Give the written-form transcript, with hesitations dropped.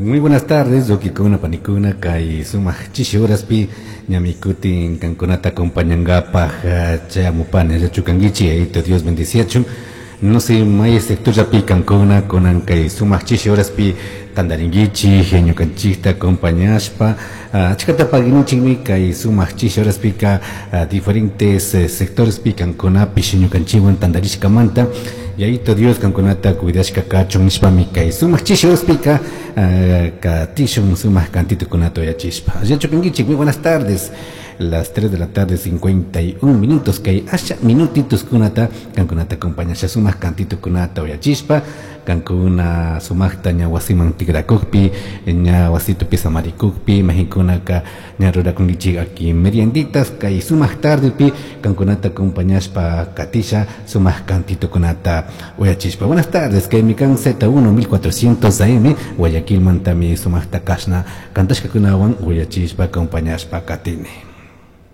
Muy buenas tardes, huauquicuna, panicuna, kay sumak chishi horaspi ñami kutin kankunata acompañangapaj chayamupani, allachu kankichik, Yayito Dios bendiciachun. No sé, may sectorllapi kankuna kunan kay sumak chishi horaspi tandarinkichik, ñukanchikta acompañashpa, achkata paginichikmi kay sumak chishi horaspika diferentes sectorespi kankunapish ñukanchikwan tandarishkamanta. Yayito Dios kankunata cuidashka kachun nishpami kay sumak chishi horaspika katishun sumak cantitukunata uyachishpa. Allachu kankichik, muy buenas tardes. Las 3 de la tarde, 51 minutos, kay asha minutitos kunata kankunata acompañasha sumak cantitukunata uyachishpa, kankuna sumakta ña wasiman tikrakukpi, ña wasitupi samarikukpi, mahinkunaka ña rurakunkichik aki merienditas, kay sumak tardepi kankunata acompañashpa katisha sumak cantitukunata uyachishpa. Buenas tardes, kay mikan Z1 1400 AM, Guayaquil mantami sumakta kashna kantashkakunawan uyachishpa acompañashpa katini.